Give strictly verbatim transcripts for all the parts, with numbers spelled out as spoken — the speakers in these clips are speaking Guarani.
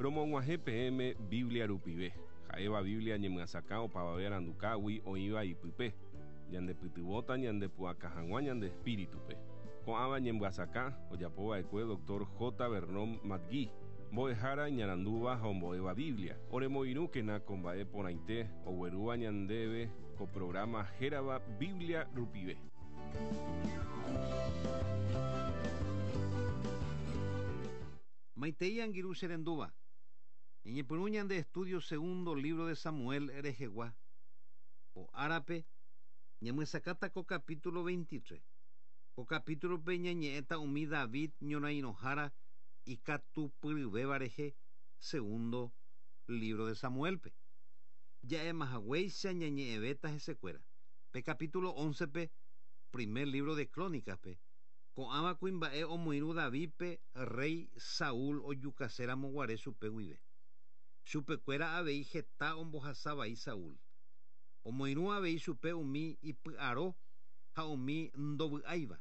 Romog̃uahẽ peẽme Biblia rupive. Ha'éva Biblia ñemyasakã opavave arandukágui oĩva ipype. Ñandepytyvõta ñandepu'aka hag̃ua ñande espíritupe. Ko'ãva ñemyasakã ojapova'ekue doctor J. Vernon McGee. Mbo'ehára iñarandúva ha ombo'éva Biblia. Oremoirũkena ko mba'e porãite oguerúva ñandéve ko programa hérava Biblia rupive. Maitei angirũ che rendúva. Ñañepyrũ ñande estudio segundo libro de Samuel rehegua. Ko árape ñamyesakãta ko capítulo veintitrés. Ko capítulope ñañe'ẽta umi David ñorairõhára ikatupyryvéva rehe segundo libro de Samuelpe. Ja'emahaguéicha ñañe'ẽvéta hesekuéra. Pe capítulo oncepe, primer libro de Crónicaspe, ko'ãva kuimba'e omoirũ Davidpe rey Saúl ojukaséramo guare chupe guive. Chupekuéra avei heta ombohasavai Saúl. Omoirũ avei chupe umi ipy'aro ha umi ndovy'áiva.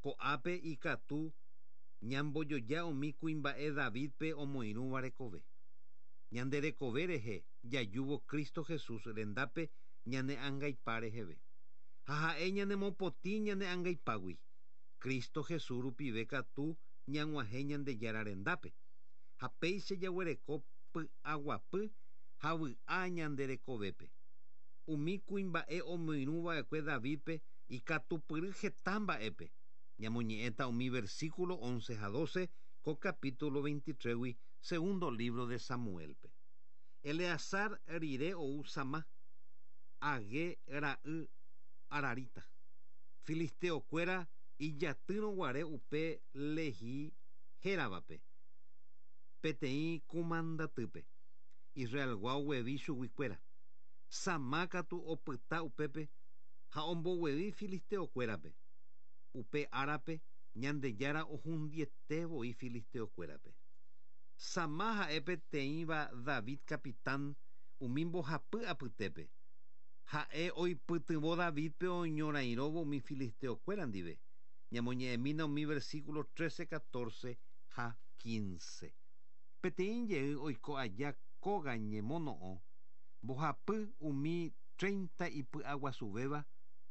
Ko'ápe ikatu ñambojoja umi kuimba'e Davidpe omoirũva rekove. Ñande rekove rehe jajúvo Cristo Jesús rendápe ñane angaipa reheve. Ha ha'e ñanemopotĩ ñane angaipágui. Cristo Jesús rupive katu ñag̃uahẽ Ñandejára rendápe. Ha péicha jaguereko py'aguapy ha vy'a ñande rekovépe. Umi kuimba'e omoirũva'ekue Davidpe ikatupyry heta mba'épe. Ñamoñe'ẽta umi versículo once ha doce ko capítulo veintitrésgui segundo libro de Samuelpe. Eleazar rire ou Samá, Agé ra'y Ararita. Filisteokuéra ijatýrõguare upe Lehi héravape. Peteĩ kumandatýpe. Israelgua oguevi chuguikuéra. Samá katu opyta upépe ha omboguevi filisteokuérape. Upe árape Ñandejára ohundietévoi filisteokuérape. Samá ha'e peteĩva David capitán umi mbohapy apytépe. Ha'e oipytyvõ Davidpe oñorairõvo umi filisteokuéra ndive. Ñamoñe'ẽmína umi versículo trece, catorce ha quince. Peteĩ jey oiko aja kóga ñemono'õ mbohapy umi treinta ipy'aguasuvéva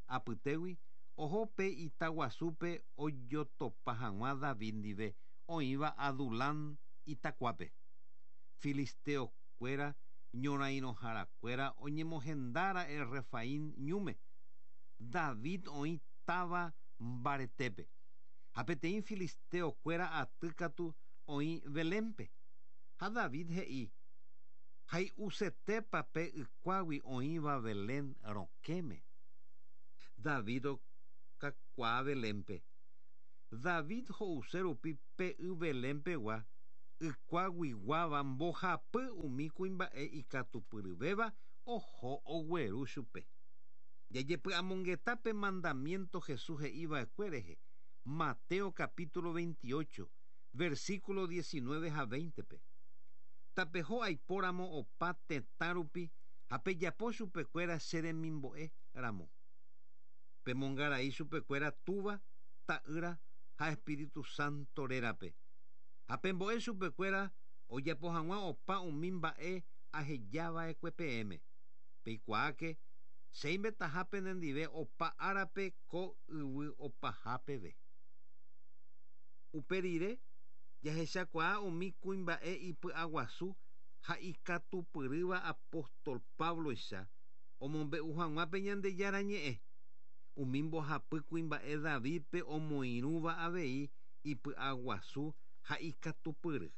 apytégui oho pe itaguasúpe ojotopa hag̃ua David ndive oĩva Adulán itakuápe. Filisteokuéra ñorairõharakuéra oñemohendára'e Refaín ñúme. David oĩ táva mbaretépe. Ha peteĩ filisteokuéra aty katu oĩ Belénpe. Ha David he'i hay'usetépa pe ykuágui oĩva Belén rokẽme. David okakuaa Belénpe. David ho'use rupi pe y Belénpegua ykuaguiguáva mbohapy umi kuimba'e ikatupyryvéva oho ogueru chupe. Jajepy'amongeta pe mandamiento Jesús he'iva'ekue rehe. Mateo capítulo veintiocho, versículo diecinueve ha veintepe. Tapeho aipóramo opa tetã rupi ha pejapo chupekuéra che remimbo'e ramo. Pemongarai chupekuéra túva, ta'ýra ha Espíritu Santo rérape. Ha pembo'e chupekuéra ojapo hag̃ua opa umi mba'e ahejava'ekue peẽme. Peikuaáke che penendive opa árape ko yvy opaha peve. Upe rire jahechakuaa umi kuimba'e ipy'aguasu ha ikatupyrýva apóstol Pabloicha omombe'u hag̃ua pe Ñandejára ñe'ẽ. Umi mbohapy kuimba'e Davidpe omoirũva avei ipy'aguasu ha ikatupyry.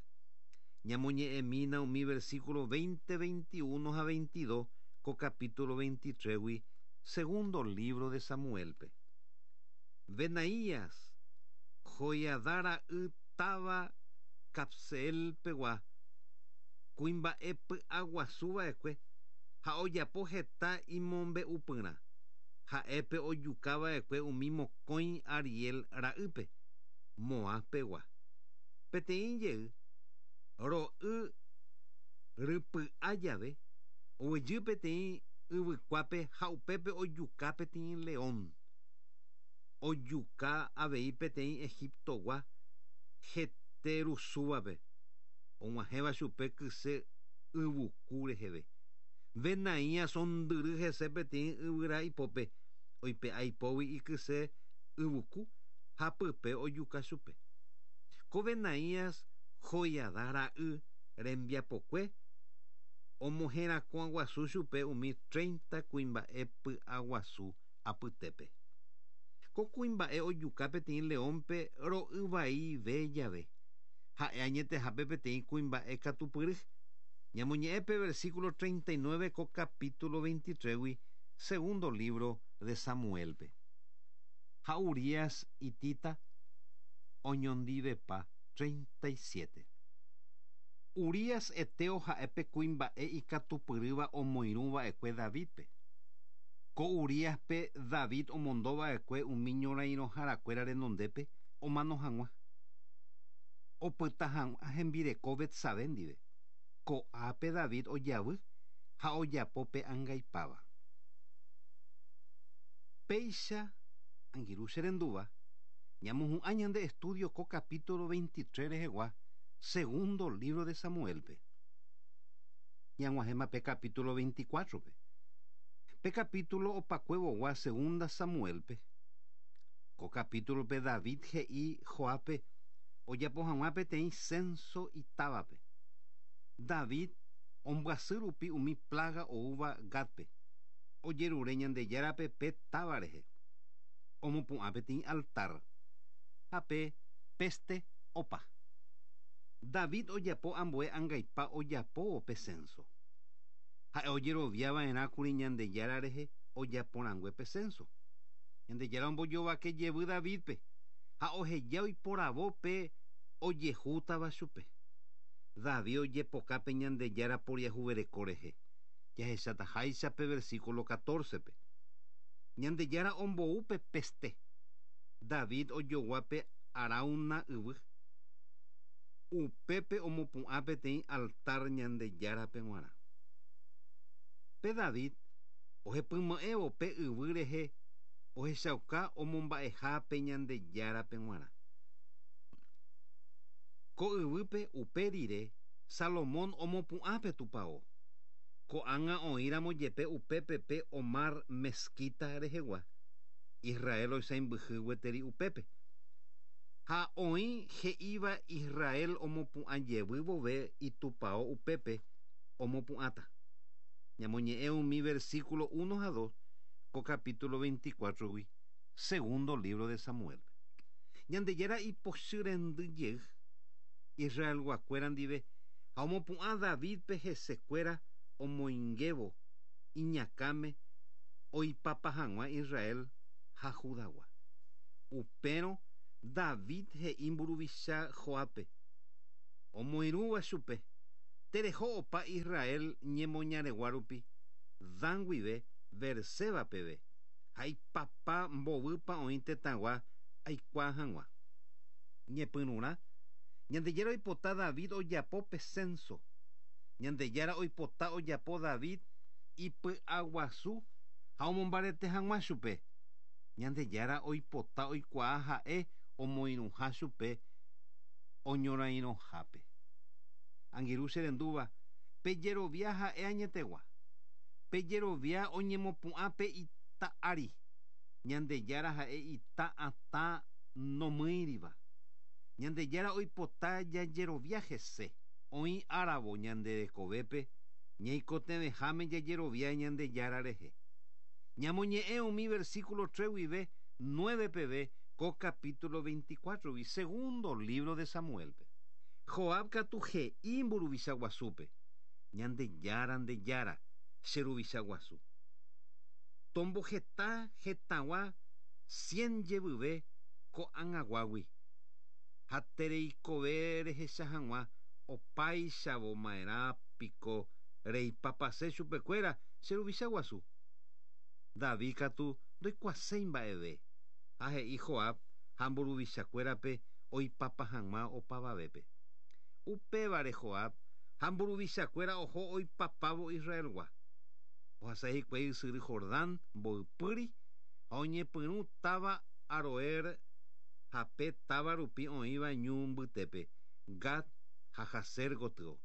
Ñamoñe'ẽmína umi versículo veinte, veintiuno ha veintidós ko capítulo veintitrésgui segundo libro de Samuelpe. Benaías, Joiadá ra'y táva Capseelpegua, kuimba'e py'aguasuva'ekue ha ojapo heta imombe'upyrã. Ha'épe ojukava'ekue umi mokõi Ariel ra'ýpe, Moabpegua. Peteĩ jey ro'y rypy'a jave oguejy peteĩ yvykuápe ha upépe ojuka peteĩ león. Ojuka avei peteĩ Egiptogua heterusúvape. Og̃uahẽva chupe kyse yvuku reheve. Benaías ondyry hese peteĩ yvyra ipópe oipe'a ipógui ikyse yvuku ha pype ojuka chupe. Ko Benaías Joiada ra'y rembiapokue omoherakuãguasu chupe umi treinta kuimba'e py'aguasu apytépe. Ko kuimba'e ojuka peteĩ leónpe ro'yvaive jave. Ha'e añetehápe peteĩ kuimba'e katupyry. Ñamoñe'ẽpe versículo treinta y nueve ko capítulo veintitrés segundo libro de Samuelpe. Ha Urías itita oñondivepa treinta y siete. Urías eteo ha'epe kuimba'e ikatupyrýva omoirũva'ekue Davidpe. Ko Uríaspe David omondova'ekue umi ñorairõharakuéra renondépe omano hag̃ua. Opyta hag̃ua hembireko Betsabé ndive. Ko'ápe David ojavy ha ojapo pe angaipáva. Péicha angirũ che rendúva ñamohu'ã ñande estudio ko capítulo veintitrés rehegua segundo libro de Samuelpe. Ñag̃uahẽma pe capítulo veinticuatro-pe. Pe capítulo opakuevogua segunda Samuelpe. Ko capítulo-pe David he'i Joápe ojapo hag̃ua peteĩ censo itávape. David ombyasy rupi umi plaga oúva Gatpe. Ojerure Ñandejárape pe táva rehe. Omopu'ã peteĩ altar. Ha pe peste opa. David ojapo ambue angaipa ojapóvo pe censo. Ha'e ojeroviava'erãkuri Ñandejára rehe ojaporãngue pe censo. Ñandejára ombojovake jevy Davidpe ha oheja oiporavo pe ojehútava chupe. David ojepokápe Ñandejára poriahuvereko rehe. Jahechataháicha pe versículo catorce-pe. Ñandejára ombou pe peste. David ojoguápe Arauna yvy. Upépe omopu'ã peteĩ altar Ñandejárape g̃uarã. Pe David ohepymo'ẽvo pe yvy rehe ohechauka omomba'eha pe Ñandejárape g̃uarã. Ko yvýpe upe rire Salomón omopu'ã pe tupão. Ko'ág̃a oĩramo jepe upépe pe Omar mezquita rehegua. Israel oisãmbyhy gueteri upépe. Ha oĩ he'íva Israel omopu'ã jevy vove itupão upépe omopu'ãta. Ñamoñe'ẽ umi versículo uno ha dos ko capítulo veinticuatro-gui segundo libro de Samuel. Ñandejára ipochy rendy jey Israelguakuéra ndive ha omopu'ã Davidpe hesekuéra omoingévo iñakãme oipapa hag̃ua Israel ha Judagua. Upérõ David he'i mburuvicha Joápe omoirũva chupe tereho opa Israel ñemoñaregua rupi Dan guive Berseba peve ha ipapa mbovýpa oĩ tetãgua aikuaa hag̃ua. Ñepyrũrã Ñandejára oipota David ojapo pe censo. Ñandejára oipota ojapo David ipy'aguasu ha omombarete hag̃ua chupe. Ñandejára oipota oikuaa ha'e omoirũha chupe oñorairõhápe. Angirũ che rendúva pejerovia ha'e añetegua. Pejerovia oñemopu'ã pe ita ári. Ñandejára ha'e ita atã nomýiriva. Ñandejára oipota jajerovia hese. Oĩ áravo ñande rekovépe ñaikotevẽháme jajerovia Ñandejára rehe. Ñamoñe'ẽ umi versículo tres guive nueve peve ko capítulo veinticuatro-gui segundo libro de Samuelpe. Joab katu he'i mburuvicha guasúpe. Ñandejára ndejára che ruvicha guasu. Tomboheta hetãgua cien jevyve ko'ag̃aguágui. Ha tereikove rehecha hag̃ua opáichavo ma'erã piko reipapase chupekuéra che ruvicha guasu. David katu ndoikuaaséi mba'eve. Ha he'i Joab ha mburuvichakuérape oipapa hag̃ua opavavépe. Upévare Joab ha mburuvichakuéra oho oipapávo Israelgua. Ohasa hikuái ysyry Jordán mboypýri ha oñepyrũ táva Aroer ha pe táva rupi oĩva ñu mbytépe Gad ha Jazer gotyo.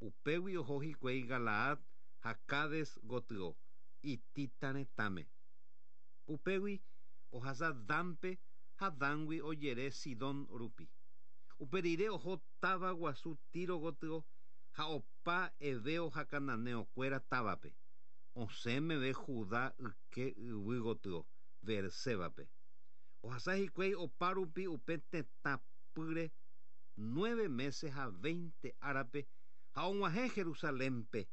Upégui oho hikuái Galaad ha Cades gotyo hitita retãme. Upégui ohasa Danpe ha Dangui ojere Sidón rupi. Upe rire oho táva guasu Tiro gotyo ha opa heveo ha cananeokuéra távape. Osẽ meve Judá yke yvy gotyo Beersébape. Ohasa hikuái opa rupi upe tetãpýre nueve meses ha veinte árape ha og̃uahẽ Jerusalénpe.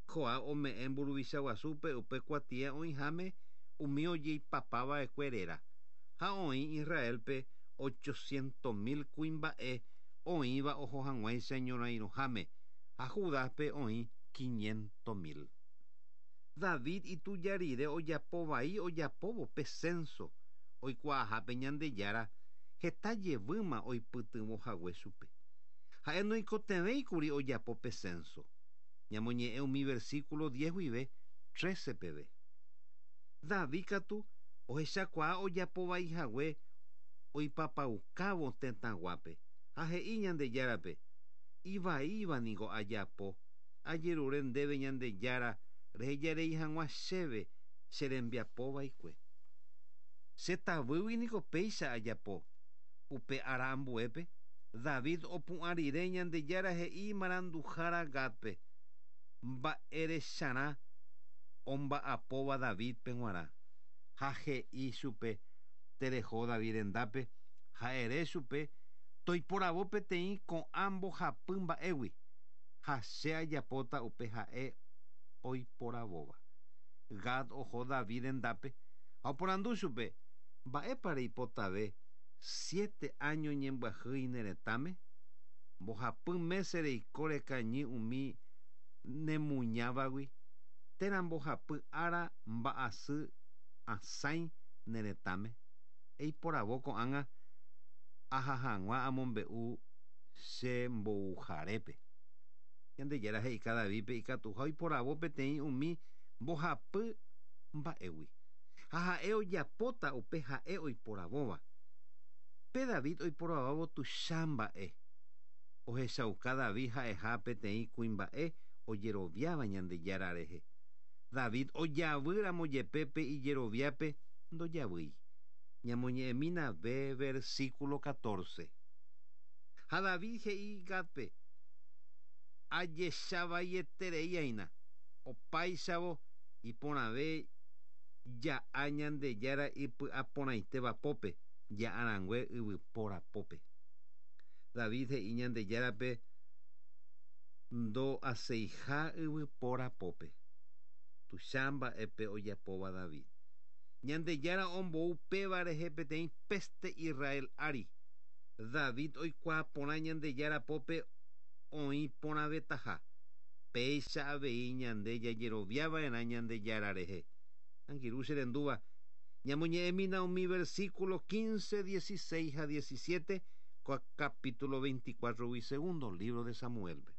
Joab ome'ẽ mburuvicha guasúpe upe kuatia oĩháme umi ojeipapava'ekue réra ha oĩ Israelpe ochocientos mil kuimba'e oĩva oho hag̃uáicha ñorairõháme ha Judápe oĩ quinientos mil. David ituja rire ojapovai ojapóvo pe censo oikuaahápe Ñandejára heta jevýma oipytyvõhague chupe. Ha'e noikotevẽikuri ojapo pe censo. Ñamoñe'ẽ umi versículo diez guive trece peve. David katu ohechakuaa ojapovaihague oipapaukávo tetãguápe ha he'i Ñandejárape ivaíva niko ajapo ajerure ndéve Ñandejára rehejarei hag̃ua chéve che rembiapova'ekue. Che tavýgui niko péicha ajapo upe ára ambuépe David opu'ã rire Ñandejára he'i maranduhára Gádpe mba'erecharã omba'apóva Davidpe g̃uarã ha he'i chupe tereho David rendápe ha ere chupe toiporavo peteĩ ko'ã mbohapy mba'égui ha che ajapóta upe ha'e oiporavóva. Gad oho David rendápe ha oporandu chupe mba'épa reipotave siete año ñembyahýi ne retãme mbohapy mese reiko rekañy umi nemuñávagui térã mbohapy ára mba'asy asãi ne retãme eiporavo ko'ág̃a aha hag̃ua amombe'u che mbouharépe. Ñandejára he'ika Davidpe ikatuha oiporavo peteĩ umi mbohapy mba'égui ha ha'e ojapóta upe ha'e oiporavóva. Pe David oiporavávo tuicha mba'e. Ohechauka David ha'eha peteĩ kuimba'e ojeroviáva Ñandejára rehe. David ojavýramo jepe pe ijeroviápe ndojavýi. Ñamoñe'ẽmína ve versículo catorce. Ha David he'i Gádpe ajechavaietereíaína opáichavo iporãve ja'a Ñandejára ipy'aporãitéva pópe ja'arãngue yvypóra pópe. David he'i Ñandejárape ndo'aseiha yvypóra pópe. Tuicha mba'épe ojapóva David. Ñandejára ombou péva rehe peteĩ peste Israel ári. David oikuaa porã Ñandejára pópe oĩ porãvetaha. Péicha avei ñande jajeroviava'erã Ñandejára rehe. Angirũ che rendúva ñamoñe'ẽmína umi versículo quince, dieciséis ha diecisiete capítulo veinticuatro gui segundo libro de Samuelpe.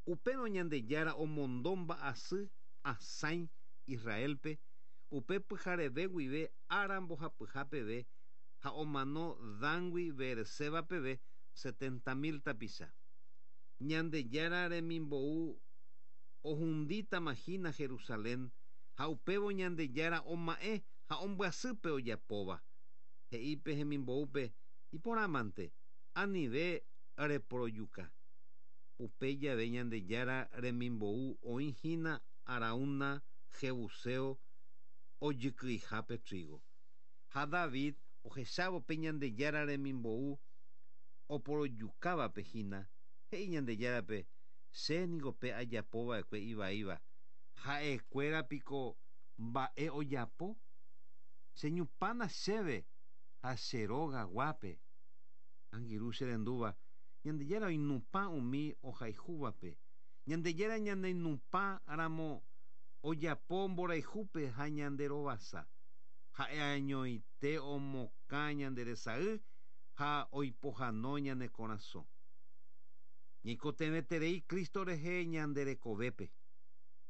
Upérõ Ñandejára omondo mba'asy asãi Israelpe upe pyhareve guive ára mbohapyha peve ha omano Dangui Beerseba peve setenta mil tapicha. Ñandejára remimbou ohundítama hína Jerusalén ha upévo Ñandejára oma'ẽ ha ombyasýpe ojapóva. He'ípe hemimboúpe iporãmante anive reporojuka. Upe jave Ñandejára remimbou oĩhína Araúna Jebuseo ojykyihápe trigo. Ha David ohechávo pe Ñandejára remimbou oporojukávape hína he'i Ñandejárape che niko pe ajapova'ekue ivaíva ha'ekuéra piko mba'e ojapo cheñupána chéve ha che rogaguápe. Angirũ che rendúva Ñandejára oinupã umi ohayhúvape. Ñandejára ñaneinupã ramo ojapo mborayhúpe ha ñanderovasa. Ha'e añoite omokã ñanderesay ha oipohãno ñane korasõ. Ñaikotevẽterei Cristo rehe ñanderekovépe.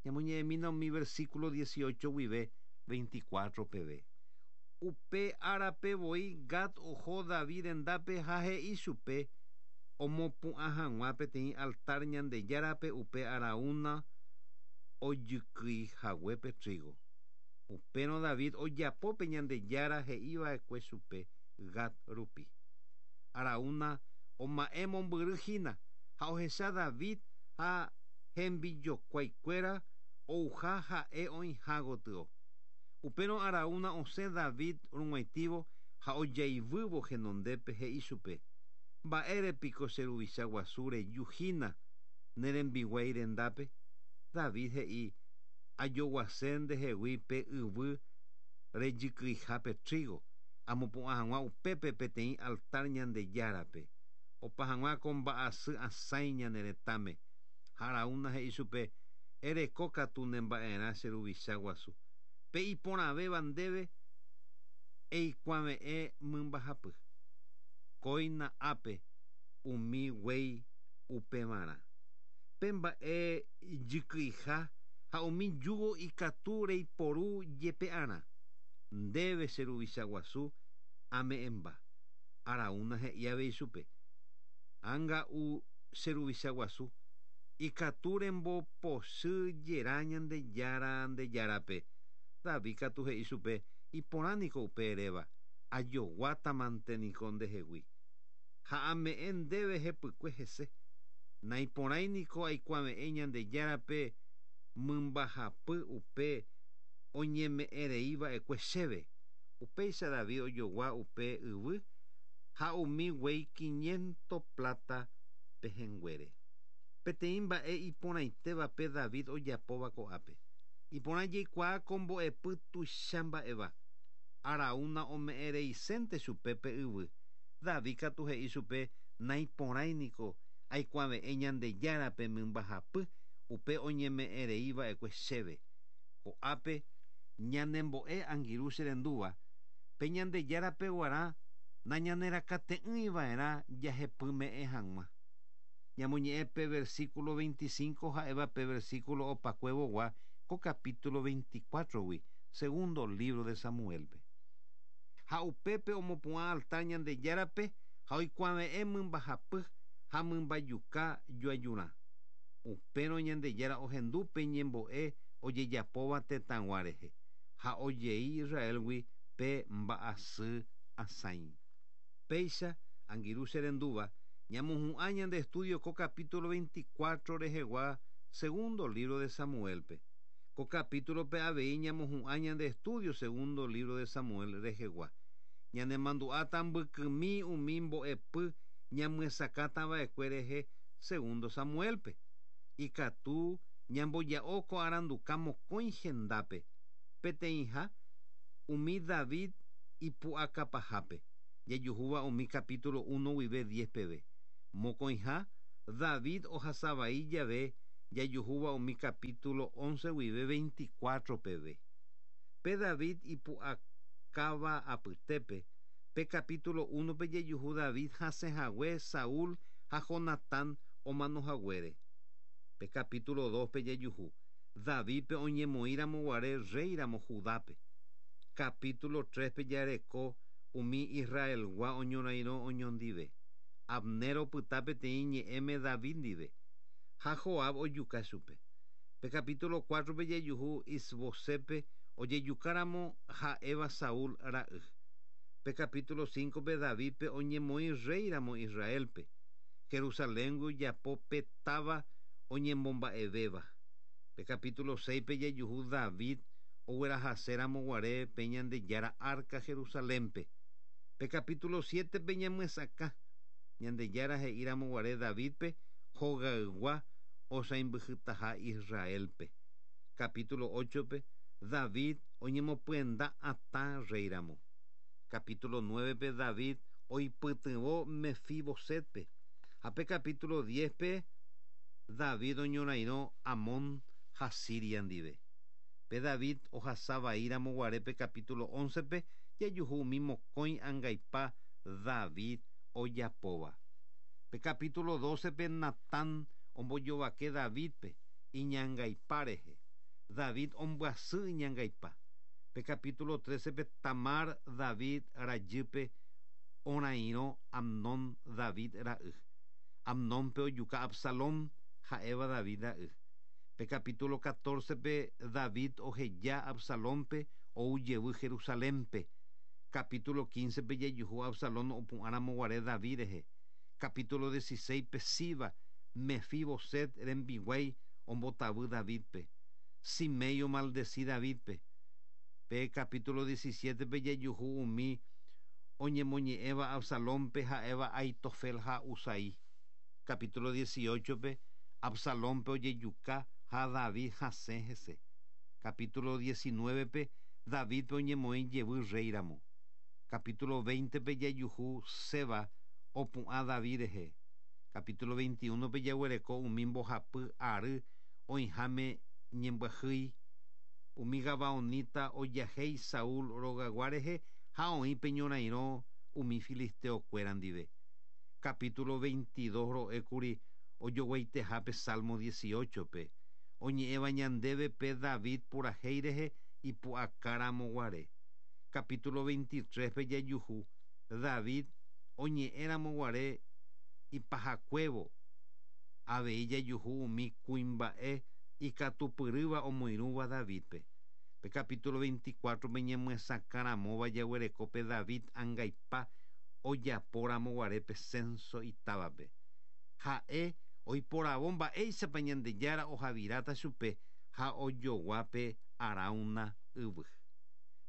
Ñamoñe'ẽmína umi versículo dieciocho guive veinticuatro peve. Upe árape voi Gad oho David rendápe ha he'i chupe Omopu'ã hag̃ua peteĩ altar Ñandejárape upe Araúna ojykyihaguépe trigo. Upérõ David ojapópe Ñandejára he'iva'ekue chupe Gad rupi. Araúna oma'ẽ mombyry hína ha ohecha David ha hembijokuaikuéra ouha ha'e oĩha gotyo. Upérõ Araúna osẽ David rug̃uaitĩvo ha ojaivývo henondépe he'i chupe: Mba'érepiko che ruvicha guasu reju hína ne rembiguái rendápe. David he'i: Ajoguase ndehegui pe yvy rejykyihápe trigo, amopu'ã hag̃ua upépe peteĩ altar Ñandejárape, opa hag̃ua ko mba'asy asãi ñane retãme. Ha Araúna he'i chupe: Ereko katu nemba'erã che ruvicha guasu. Pe iporãvéva ndéve eikuave'ẽ mymbahapy. Kóina ápe umi guéi upevarã. Pe mba'e jykyiha ha umi yugo ikatu reiporu jepe'arã. Ndéve che ruvicha guasu ame'ẽmba. Araúna he'i avei chupe: Ág̃a che ruvicha guasu ikatu rembopochy jera Ñandejára Ndejárape. David katu he'i chupe: Iporãniko upe eréva, ajoguátamante niko ndehegui. Ha ame'ẽ ndéve hepykue hese. Naiporãiniko aikuave'ẽ Ñandejárape mymbahapy upe oñeme'ẽreiva'ekue chéve. Upéicha David ojogua upe yvy ha umi guéi quinientos plata pehẽnguére. Peteĩ mba'e iporãitévape David ojapóva ko'ápe. Iporã jaikuaa ko mbo'epy tuicha mba'éva. Araúna ome'ẽreisénte chupe pe yvy. David katu he'i chupe: Naiporãiniko aikuave'ẽ Ñandejárape mymbahapy upe oñeme'ẽreiva'ekue chéve. Ko'ápe ñanembo'e angirũ che rendúva pe Ñandejárape g̃uarã nañanerakate'ỹiva'erã jahepyme'ẽ hag̃ua. Ñamoñe'ẽ pe versículo veinticinco ha'éva pe versículo opakuevogua ko capítulo veinticuatro-gui, segundo libro de Samuelpe. Ha upépe omopu'ã altar Ñandejárape ha oikuave'ẽ mymbahapy ha mymbajuka joajurã. Upérõ Ñandejára ohendu pe ñembo'e ojejapóva tetãgua rehe ha ojei Israelgui pe mba'asy asãi. Péicha angirũ che rendúva ñamohu'ã ñande estudio ko capítulo veinticuatro rehegua segundo libro de Samuelpe. Ko capítulo-pe avei ñamohu'ã ñande estudio segundo libro de Samuel rehegua. Ñanemandu'áta mbykymi umi mbo'epy ñamyesakãtava'ekue rehe segundo Samuelpe. Ikatu ñamboja'o ko aranduka mokõi hendápe. Peteĩha umi David ipu'akapahápe. Jajuhúva umi capítulo uno guive diez peve. Mokõiha David ohasavai jave jajuhúva umi capítulo once guive veinticuatro peve. Pe David ipu'akáva apytépe pe capítulo uno pe jajuhu David hasẽhague Saúl ha Jonatán omanohaguére. Pe capítulo dos pe jajuhu Davidpe oñemoĩramo guare réiramo Judápe. Capítulo tres pe jareko umi Israelgua oñorairõ oñondive. Abner opyta peteĩ ñe'ẽme David ndive ha Joab ojuka chupe. Pe capítulo cuatro pe jajuhu Isbosépe ojejukáramo ha'éva Saúl ra'y. Pe capítulo cinco pe Davidpe oñemoĩ réiramo Israelpe. Jerusaléngui ojapo pe táva oñemomba'evéva. Pe capítulo seis pe jajuhu David oguerahaséramo guare pe Ñandejára arca Jerusalénpe. Pe capítulo siete pe ñamyesakã Ñandejára he'íramo guare Davidpe hogaygua osãimbyhytaha Israelpe. Capítulo ocho pe David oñemopyenda atã réiramo. Capítulo nueve pe David oipytyvõ Mefibosetpe. Ha pe capítulo diez pe David oñorairõ Amón ha Siria ndive. Pe David ohasavaíramo guare pe capítulo once pe jajuhu umi mokõi angaipa David ojapóva. Pe capítulo doce pe Natán ombojovake Davidpe iñangaipa rehe. David ombyasy iñangaipa. Pe capítulo trece pe Tamar David rajýpe orairõ Amnón David ra'y. Amnónpe ojuka Absalón ha'éva David ra'y. Pe capítulo catorce pe David oheja Absalónpe ou jevy Jerusalénpe. Capítulo quince pe jajuhu Absalón opu'ãramoguare David rehe. Capítulo dieciséis pe Siba Mefiboset rembiguái ombotavy Davidpe. Simei omaldeci Davidpe. Pe capítulo diecisiete pe jajuhu umi oñemoñe'ẽva Absalónpe ha'éva Aitofel ha Husai. Capítulo dieciocho pe Absalónpe ojejuka ha David hasẽ hese. Capítulo diecinueve pe Davidpe oñemoĩ jevy rréiramo. Capítulo veinte pe jajuhu Seba opu'ã David rehe. Capítulo veintiuno pe jaguereko umi mbohapy ary oĩháme ñembyahýi. Umi gabaonita ojahéi Saúl rogagua rehe ha oĩ pe ñorairõ umi filisteokuéra ndive. Capítulo veintidós ro'ékuri ojoguaitehápe Salmo dieciocho pe oñe'ẽva ñandéve pe David purahéi rehe ipu'akáramoguare. Capítulo veintitrés pe jajuhu David oñe'ẽramoguare ipahakuévo avei jajuhu umi kuimba'e ikatupyrýva omoirũva Davidpe. Pe capítulo veinticuatro pe ñemyesakãramóva jaguereko pe David angaipa ojapóramoguare pe censo itávape. Ha'e oiporavo mba'éichapa Ñandejára ohaviráta chupe ha ojoguápe Arauna yvy.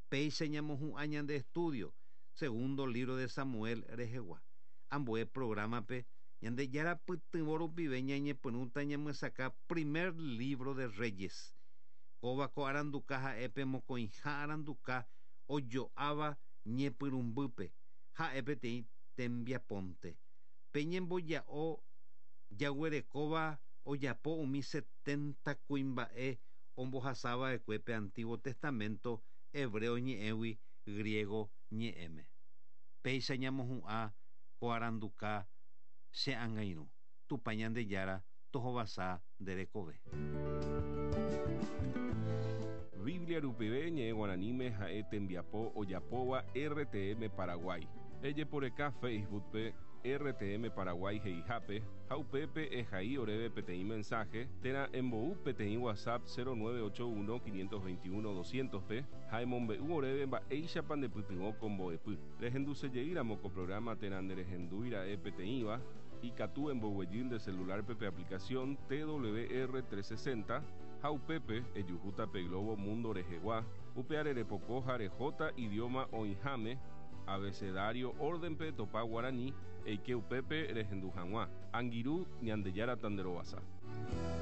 Péicha ñamohu'ã ñande estudio segundo libro de Samuel rehegua. Ambue programape Ñandejára pytyvõ rupive ñañepyrũta ñamyesakã primer libro de Reyes. Kóva ko aranduka ha'épe mokõiha aranduka ojo'áva ñepyrũmbýpe ha'e peteĩ tembiaponte. Pe ñemboja'o jaguerekóva ojapo umi setenta kuimba'e ombohasava'ekue pe Antiguo Testamento hebreo ñe'ẽgui griego ñe'ẽme. Péicha ñamohu'ã ko aranduka che angirũ. Tupã Ñandejára tohovasa nde rekove. Biblia rupive ñe'ẽ guaraníme ha'e tembiapo ojapóva R T M Paraguay. Ejeporeka Facebook pe R T M Paraguay he'ihápe ha upépe ehai oréve peteĩ mensaje térã embou peteĩ WhatsApp cero nueve ocho uno quinientos veintiuno doscientos pe ha emombe'u oréve mba'éichapa ndepytyvõ ko mbo'epy. Rehendusejeýramo ko programa térã nderehendúira'e peteĩva ikatu emboguejy nde celular pe aplicación T W R trescientos sesenta ha upépe ejuhúta pe Globo Mundo rehegua upe arerepoko ha rehóta idioma oĩháme abecedario órdenpe topa guarani eike upépe rehendu hag̃ua. Angirũ Ñandejára tanderovasa.